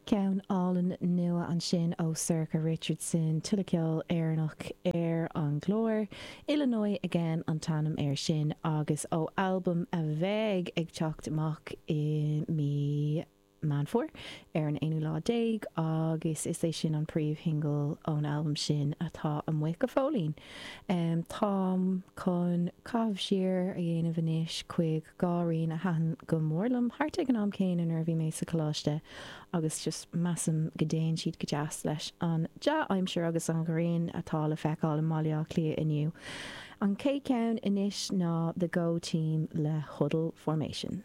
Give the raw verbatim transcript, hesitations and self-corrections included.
Ceann álainn nua ansin ó Sorcha Richardson, tuilleadh ceol Éireannach ar an gclár. Illinois Again an t-ainm air sin agus ó albam a bheidh ag teacht amach i mí Meán Fómhair ar an aonú lá déag agus is é sin an príomhshingil ón albam sin atá amuigh go fóillín. Um, Táim chun caitheamh siar a dhéanamh anois chuig dhá rian a thaitin go mór liom thart ag an am céanna nuair a bhí mé sa choláiste agus just measaim go dtéann siad go deas leis an dea-aimsir agus an ghrian atá le feiceáil i mBaile Átha Cliath inniu. An chéad cheann anois ná The Go Team le Huddle Formation.